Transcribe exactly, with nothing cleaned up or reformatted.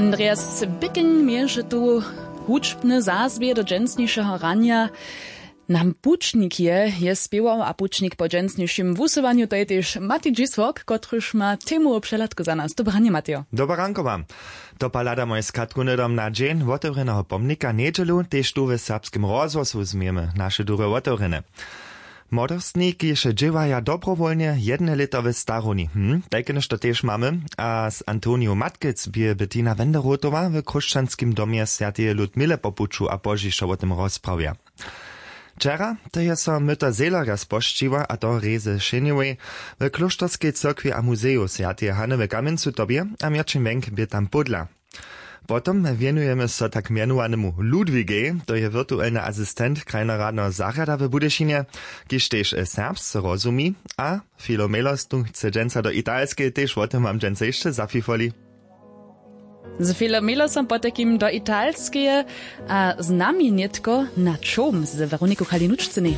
Andreas Bicking měješe tu hudźbne zazwě do dźensnišeho ranja. Nam pućnik je je spěwał a pućnik po dźensnišim wusyłanju to je tež Mati Dźisłok, kotryž ma temowu přehladku za nas. Dobre ranje, Matejo. Dobre ranko wam. To pa hlada moje skatku hnydom na dźeń wotewrjeneho pomnika njedźelu tež tu w serbskim rozhłosu změjemy naše durje wotewrjene. Młodostni kiž dźěłaja dobrowólnje jedne lěto w starowni hm tajke něšto tež mamy. A z antoniju matkec bě bettina wenderotowa w chróšćanskim domje swjateje ludmile po puću a pozdźišo wo tym rozprawja. Wčera to je so myta zehlerja spožčiła a to rězy šenjewej w klóšterskej cyrkwi a muzeju swjateje hany w kamjencu tobje. A měrćin wjenk bě tam pódla. Potom wjenujemy so tak mjenowanemu ludwigej, to je wirtuelny asistent krajnoradneho zarjada w budyšinje, kiž tež serbsce rozumi. A filomelos tu chce dźensa do italskeje tež wo tym wam dźensa hišće zafifoli. Z filomelosom potajkim do italskeje a z nami nětko na čołm z weroniku kalinučcynej.